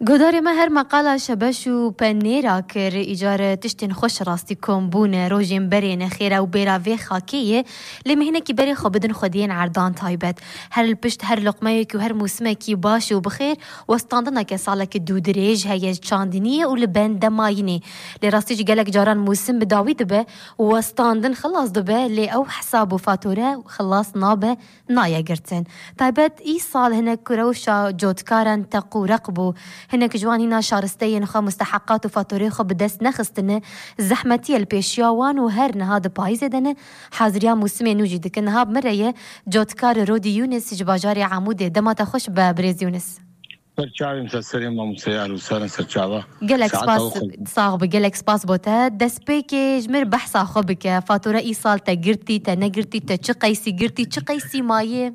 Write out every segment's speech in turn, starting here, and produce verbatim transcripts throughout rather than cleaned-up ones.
Guhdarê me, her meqala şebeş û penêra kir, îcar tiştên xweş rastî kom bûne, rojên berê ne xêra û bêra vê xakê ye, lê me hinekî berê xwe bidin xwediyên erdan taybet. Her li pişt her loqmeyekî û her mûsimekî baş û bixêr, westandineke saleke dûdirêj heye, çandiniyê û li ben demayînê. Lê rastî jî gelek caran mûsim bi dawî dibe û westandin xilas dibe, lê ew hesab û fatore xilas nabe, naye girtin. Taybet îsal hinek ku rewşa cotkaran teq û req bû. Hinek ji wan hîna şaristeyên xwe, musteheqat û fatoreyê xwe bi dest nexistine. Zehmetiye li pêşiya wan û her niha di payîzê de ne. Haziriya mûsimê nû jî dikin. Niha bi min re ye cotkar Rodî Yûnis ji bajarê Amûdê. Dema te xweş be birêz Yûnis. Ser çavên te serê mamosteyar û serin ser çava. Gelek Saeta spas, we xweş. Sax bi, gelek spas bo te. Destpêkê ji mir behsa xwe bike. Fatore îsal te girtî, te negirtî, te çi qeysî girtî, çi qeysî mayê?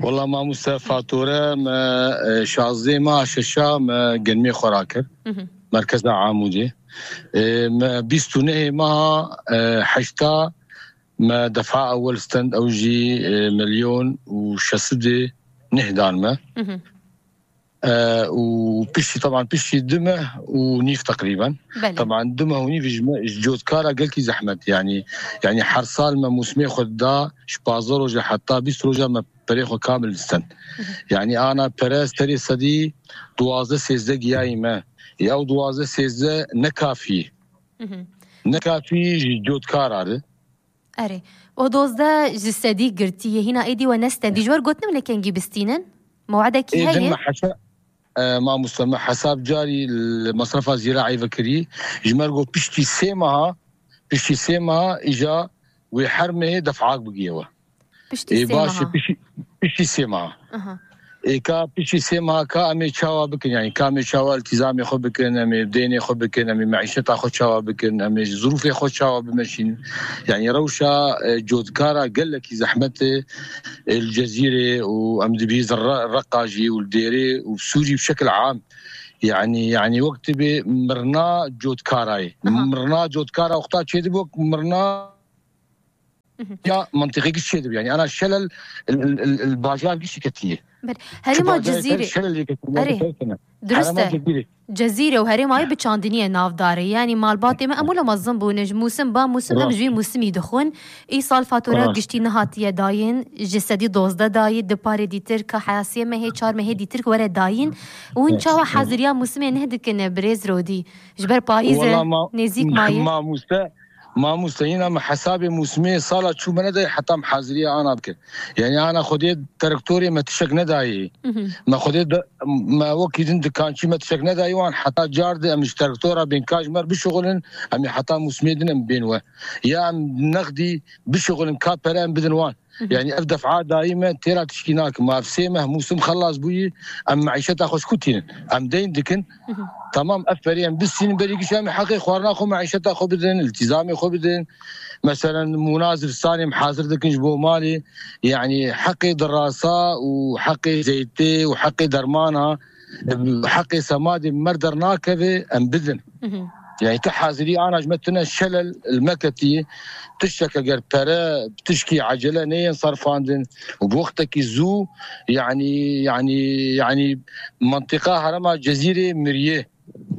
Wela mamoste, fatore me, e, şazdeh meha şeşa me genmê xwe rakir. Mhm. Merkeza Amûdê. E, me bîst û nehê meha, e, heşta me defa ewel stend, ew jî, e, milyon û şeş sed û neh dan me. Mhm. E, û piştî, teban piştî du meh û nîv teqrîben. Belê. Teban du meh û nîv ji me, ji cotkara gelkî zehmet, yanî, yanî her sal me mûsimê xwe da, ji pazdeh roja heta bîst roja me perê xwe kamil disten. Mhm. Yanî ana pere serê sedî duwazdeh sêzdeh giyayî me. Ya ew duwazdeh sêzdeh ne kafî. Mhm. Ne kafî ji cotkara de. Erê. O dozdeh ji sedî girtiye. Hîna êdî we nestendî. Ji wer gotinê min kengî bistînin? Mewedekî Ê din heye? Me hesa-, e, mamoste, me hesab carî li mesrefa zîraî vekirî. Ji me re got piştî sê meha, piştî sê meha îja wê her mehê def'ak bigiye we. Piştî Ê, sê baş e, meha. Piştî, piştî sê meha. Aha. Ê, ka piştî sê meha ka em ê çawa bikin, yanî ka em ê çawa iltîzamê xwe bikin, em ê deynê xwe bikin, em ê meîşeta xwe çawa bikin, em ê zirûfê xwe çawa bimeşînin. Yanî rewşa, e, cotkara gelekî zehmet e, e, li Cezîrê û em dibî Re-, Reqa jî û li Dêrê û Sûrî bi şekil am. Yanî, yanî wek tibê mirna cotkarayê. Aha. Mirna cotkara wexta çêdibe wek mirna Mhm. Ya mentiqê giş çêdibe, yanî ana şelel il, il, il, il bajar giş ketiye. Ber-, Herêma Cizîrê. Şelel ketiye. Erê. Durust e. Cezîrê û herêmayê bi çandiniyê navdar e. Yanî malbatê me em wilo mezin bûne. Ji mûsim ba mûsim em ji wî mûsimî dixwin. Îsal fatura giştî nehatiye dayîn. Ji sedî dozdeh dayî, di parê dîtir ka heyasiyê mehê, çar mehê dîtir were dayîn. Hûn çawa haziriya mûsimê neh dikine, birêz Rodî? Ji ber payîz e, Wela ma-, nêzîk mayî. Mamoste, Mamoste, yina me hesabê mûsimê sala çû me nedayê heta me haziriya ana bike. Yanî ana xwedê terektorê me tişek nedayê. Mhm. Me xwedê de, me wekî din dikançî me tişek nedayê wan heta car de em ji terektora bên ka ji me re bişuxulin, em ê heta mûsimê din em bên we. Ya em nexdî bişuxulin ka pere em bidin wan. Mhm. Yanî ev def'a dayî me têra tişkî nakin. Ma ev sê meh mûsim xelas bûyî, em meîşeta xwe ji ku tînin? Em deyn dikin. Mhm. Tamam, ev perê em bistînin berî giş em ê heqê xwarina xwe, meîşeta xwe bidin, iltîzamê xwe bidin. Meselen mûna zivistanê em hazir dikin ji bo malê. Yanî heqê dirasa û heqê zeytê û heqê dermana, heqê semadê me dernakeve em bidin. Mhm. Yanî tu hazirî ana ji me tune şelel li me ketî, tiştek eger pere, tişkî ecele neyên sarfandin û bi wextekî zû, yanî, yanî, yanî mentiqa herêma Cezîrê miriye.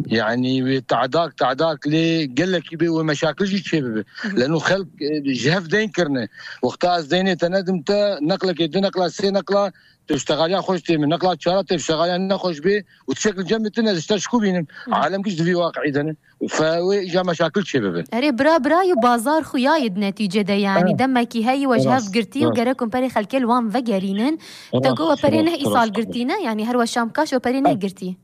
Yanî wê te'dak, te'dak lê gelekî bê wê meşakil jî çêbibe. Mhm. Leno xelk, e, ji hev deyn kirine. Wexta ez deynê te nedim te, neqlekê, du neqla, sê neqla, tu ştexaliya xweş tê min. Neqla çara tê ştexaliya nexweş bê û tişek li cem min tune, ez ji te ji ku bînim? Hı. Alem giş di vî waqi'î de ne. Fe wê îca meşakil çêbibin. Erê, bira birayî û bazar xuya ye di netîce de, yanî Ha. demekî heyî we ji hev Rast, girtî û rast. Gerek hûn perê xelkê li wan vegerînin. Te Rast, got we perê rast, neh îsal rast. girtî ne, yanî her we şam kaş we perê neh Ha. girtî.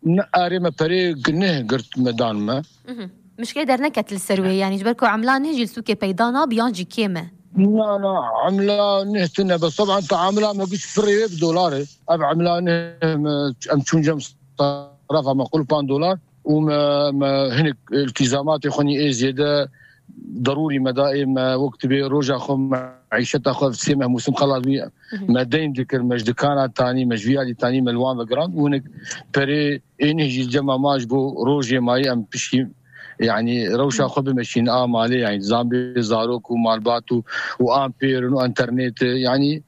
Ne, arê me perê neh girt me dan me. Mhm. Mişkilê derneket li ser wê, yanî ji ber ku emla neh jî li sûkê peyda nabe yan jî kêm e. Na, na, emla neh tune, bes teban te emla me giş pirê wê bi dolar e. Ev emla neh me, em çûn cem sarafa me qulpan dolar û me, me hinek iltîzamatê xwe nî ê zêde derûrî me da, ê me wek dibê roja xwe, meîşeta xwe sê meh mûsim xelas bû. Mhm. Me deyn dikir, me ji dikana tanî, me ji vî alî tanî, me li wan vegirand û hinek perê ê neh jî cema ma ji bo rojê mayî em piştî, yanî rewşa xwe bimeşîn a malê, yanî zambê zarok û malbat û, û ampêrin û enternetê, yanî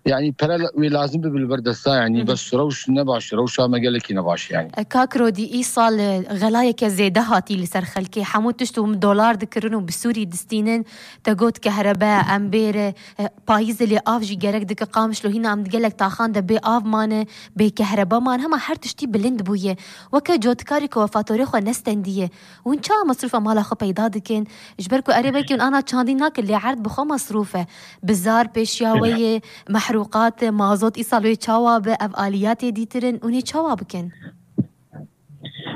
Yani pere wê lazim bibe li ber desta, yani bes rewş ne baş, rewşa me gelekî ne baş yani. E, Kak Rodî, îsal, e, xelayeke zêde hatî li ser xelkê. Hemû tişt û dolar dikirin û bi Sûrî distînin. Te got kehrebe, em bêre, e, payîzê lê av jî gerek dike. Qamişlo hîna em di gelek taxan de bê av mane, bê kehrebe man. Hema her tiştî bilind bûye. Weke cotikarî ku we fatorê xwe nestendiye. Hûn çawa mesrûfa mala xwe peyda dikin? Ji ber ku erê belkî hûn ana çandî nakin, lê erd bi xwe mesrûf e. Bizar pêşiya we ye, mehrûqat, mazot îsal wê çawa be, ev aliyatê dîtirin, hûn ê çawa bikin?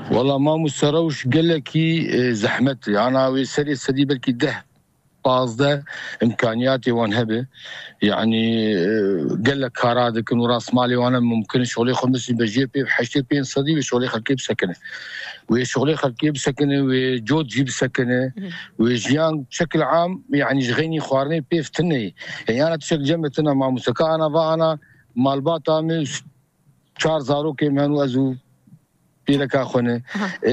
Wala mamoste, rewş gelekî, e, zehmet e. Ana wê serê sedî belkî deh, pazdeh imkaniyatê wan hebe. Yani, e, gelek kara dikin û rastmalê wan e mumkin. Şolê xwe misin be jê pê heştê pênc sedî wê şolê xelkê bisekine. Wê şolê xelkê bisekine, wê cot jî bisekine. Wê jiyan şekil am, yani ji xeynî xwarinê pêv tine ye. Yani ana tişek cem tine mamoste. Ka ana va ana malbata me çar zarokê me hene û ez û pîreka xwe ne. Aha. E,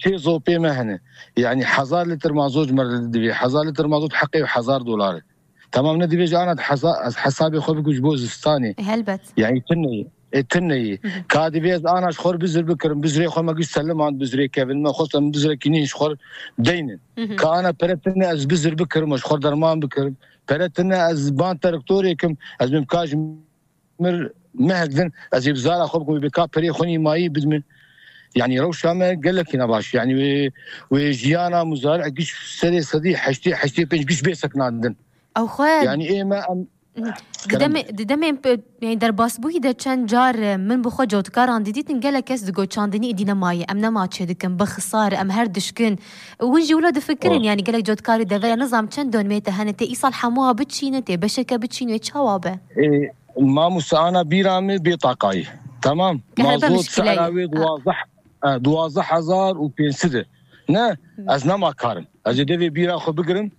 çê zopê me hene. Yani hezar lîtir mazot ji me re divê. Hezar lîtir mazot heqê hezar dolar e. Tamam, ne divê ji ana hesa-, ez hesabê xwe bikim ji bo zistanê. E, helbet. Yani tune ye. E, tune ye. Ka divê ez ana ji xwe re bizir bikirim. Bizirê xwe me giş seliman, bizirê kevin me xwestem, bizirekî nîn ji xwe re deynin. Ka ana pere tune ez bizir bikirim, ji xwe re derman bikirim. Pere tune ez ban terektorê kim, ez bim ka ji mir mehek din, ez ê bi zara xwe bikim, wê bê ka perê xwe nîmayî bidime. Yani rewşa me gelekî nebaş. Yani wê, wê jiyana muzari'ekî ji serê sedî heştê, heştê pênc giş bê sekinandin. Ew xwe Yani ê me em Di demê, di demê pe-, yani derbasbûyî de çend car, e, min bi xwe cotikaran didîtin, gelek kes digot çandinî îdî nemaye, em nema çêdikin, bi xisar, em her dişkin. Hûn jî wilo difikirin, Wa- yani gelek cotkarî deveya nizam çend donmê te hene, tê îsal hemûa biçîne, tê beşeke biçîne, çawa be? E, Mamoste, ana bîra min bê taqayî. Tamam. Kehrebe Mazot mişkile ye. Sehra wê Ha. duwazdeh, e, duwazdeh hezar û pênc sed e. Ne, Hı. ez nema karim. Ez ê devê bîra xwe bigirim.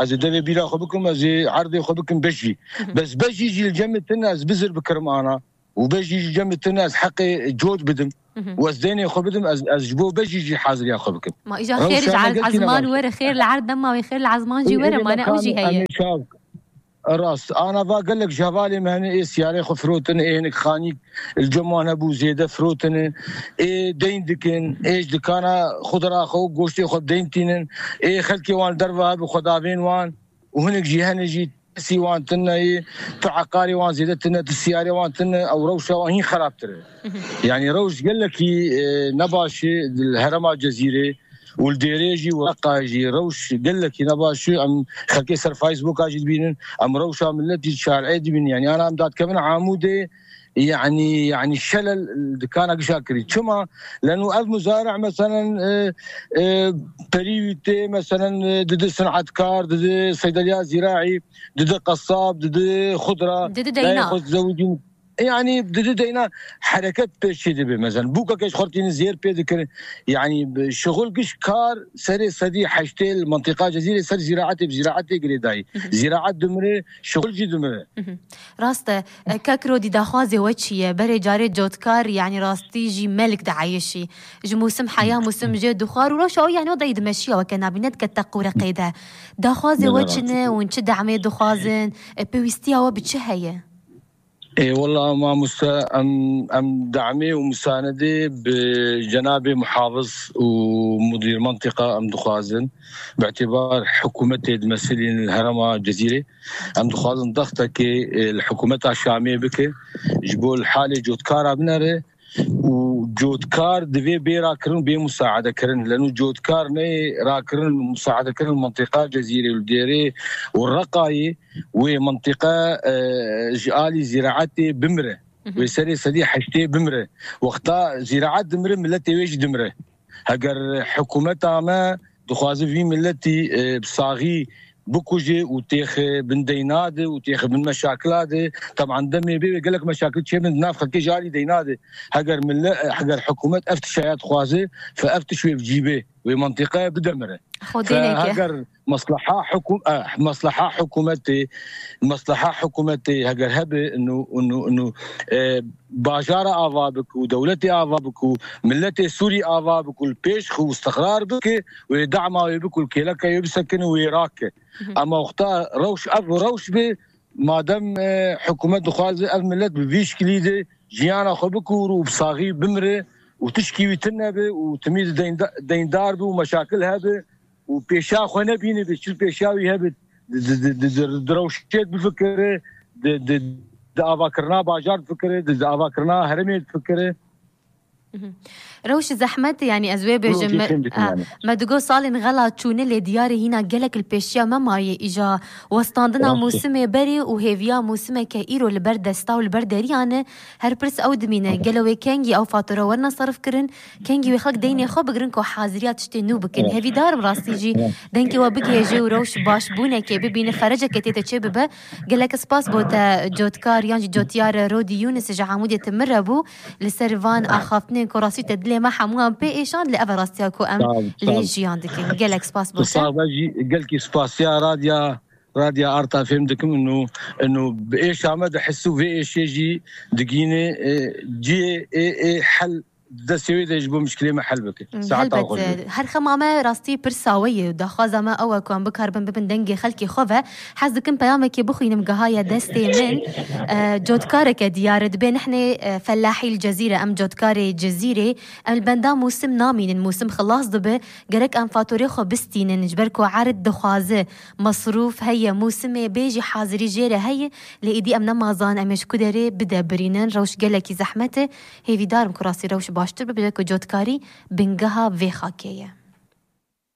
Ez ê devê bîra xwe bikim, ez ê erdê xwe bikim bejî. Hı hı. Bes bejî jî li cem min tune ez bizir bikirim ana. Û bejî ji cem min tune ez heqê cot bidim. Hı hı. Û ez deynê xwe bidim, ez, ez ji bo bejî jî haziriya xwe bikim. Ma îja xêr ji Rewşa me ez-, gelkî ezman nebaş. Were, xêr li erd nema wê, xêr li ezman jî Ê, were, ê, mane ew jî mekan, heye. em ê çav-, Rast, ana va gelek ji hevalê me hene, ê siyarê xwe firotin, ê hinek xanîk li cem wan hebû zêde firotine, ê deyn dikin, ê ji dikana xudra xwe û goştê xwe bi deyn tînin, ê xelkê wan li derve hebû xwedavên wan û hinek jî hene jî tesî wan tune ye, tu eqarê wan zêde tune, tu siyarê wan tune, ew rewşa wan hîn xerabtir e. Mhm. Yani rewş gelekî, e, nebaş e, li herêma Cezîrê û li Dêrê jî û Reqa jî rewş gelekî nebaş e. Em xelkê ser Facebooka jî dibînin, em rewşa miletî şarê dibînin. Yani ana em dadkevin Amûdê, yani, yani şelel dikana gişa kirî. Çima? Leno ev muzare meselen, e, e, perî tê, meselen, e, didi sinetkar, didi seydeliya zîraî, didi qesab, didi xudra, Didi dayê deyna. xwe zewicîn. Yani didi deyna hereket pêşî dibe. Mesela bûka keş xortîni zêr pê dikir. Yani bi şixul giş kar serê sedî heştê li mentiqa Cezîrê ser zîraetê, bi zîraetê girêdayî. Hı hı. Zîraet dimire, şixul jî dimire. Hı hı. Rast e, e, kek Rodî daxwazê we çi ye? Berê carê cotkar, yani rastî jî melik dieyişî. Ji mûsim heya mûsim jê dixwar û roşa o yani o dayî dimeşiya weke nabîne dike teq û reqê de. Daxwazê we çi ne û çi demê dixwazin? E, pêwîstiya we bi çi heye? Ê, wela mamoste, em, em demê û misanedê bi cenabê muhafiz û mudîr mentiqa em dixwazin. Bi îtibar hikûmetê dimesilîn li herêma Cezîrê. Em dixwazin dextekê, e, li hikûmeta Şamê bike, ji bo li halê cotkara binere û cotkar divê bê rakirin û bê musaedekirin. Leno cotkar neyê rakirin, musaedekirin mentiqa Cezîrê û Dêrê û Reqayê wê mentiqa, e, ji alî zîraetê bimire. Mhm. Wê serê sedî heştê bimire. Wexta zîraet dimire, miletê wê jî dimire. Heger hikûmeta me dixwaze vî miletî, e, bi saxî bikuje û têxe bin deyna de û têxe bin meşakila de, teban demê bê wê gelek meşakil çêbin di nav xelkê ji alî deyna de. Heger mile-, heger hikûmet ev tişaya dixwaze, fe ev tiş wê bi cî bê, wê mentiqaya bidemire. Xwedê Fe neke. Heger mesleha hikû-, eh, mesleha hikûmetê, mesleha hikûmetê heger hebe, inu, inu, inu, e, bajara ava bik û dewletê ava bik û miletê Sûrî ava bik û li pêş xwe û istiqrar bike, wê dema wê bik û li kêleka wê bisekine û wê rake. Mhm. Ama wexta rewş, ev rewş be, Madem e, hikûmet dixwaze ev millet bi vî şikilî de jiyana xwe bikûr û bi saxî bimire û tişkî wî tune be û timî de deynda- deyndar be û meşakil hebe û pêşa xwe nebîne, bi çil pêşa wî hebe, di- di- di- di- di rewşê bifikire, di- di- di avakirina bajar difikire, di di avakirina herêmê difikire. Rewş zehmet, yanî ez wê bêjim. Me digo salên xela çûne lê diyarê hîna gelek li pêşiya me maye, îja westandina mûsimê berê û hêviya mûsimeke îro li ber desta û li ber deriya ne. Her pirs ew dimîne, gelo wê kengî ew fatura werine serif kirin, kengî wê xelk deynê xwe bigirin ku haziriya tiştê nû bikin. Hevîdar im rastî jî dengê we bigihêje û rewş başbûnekê bibîne, fereceke tê te çê bibe. Gelek spas bo te cotkar yan jî cotyar Rodî Yûnis ji Amûdê ti min re bû. Li ser van axaftinên ku rastî te dilê me hemûyan pê êşand, li ev rastiya ku em lê jiyan dikin. Gelek spas bo te. Sax be jî, gelkî spasiya radya, radya Arta fêm dikim, inu, inu bi êşa me dihis û vê êşê jî digîne, e, cihê ê, ê hel destê wê de ji bo mişkilê me hel bike. Saeta xwe. Helbet, her xema me rastî pirsa we ye û daxwaza me ew e ku em bikaribin bibin dengê xelkê xwe ve. Hez dikim peyamekê bixwînim, gihaye destê min. E, cotkareke diyar e, dibê nihnê, e, fellahî li Cezîre, em cotkarê Cezîrê. Em li benda mûsim namînin, mûsim xilas dibe, gerek em fatorê xwe bistînin, ji ber ku erd dixwaze, mesrûf heye, mûsimê bê jî hazirî jê re heye, lê êdî em nema zan em ê ji ku derê bide birînin, rewş gelekî zehmet e. Hêvîdar im ku rastî rewş baştir bibe, ku cotkarî bingeha vê xakê ye.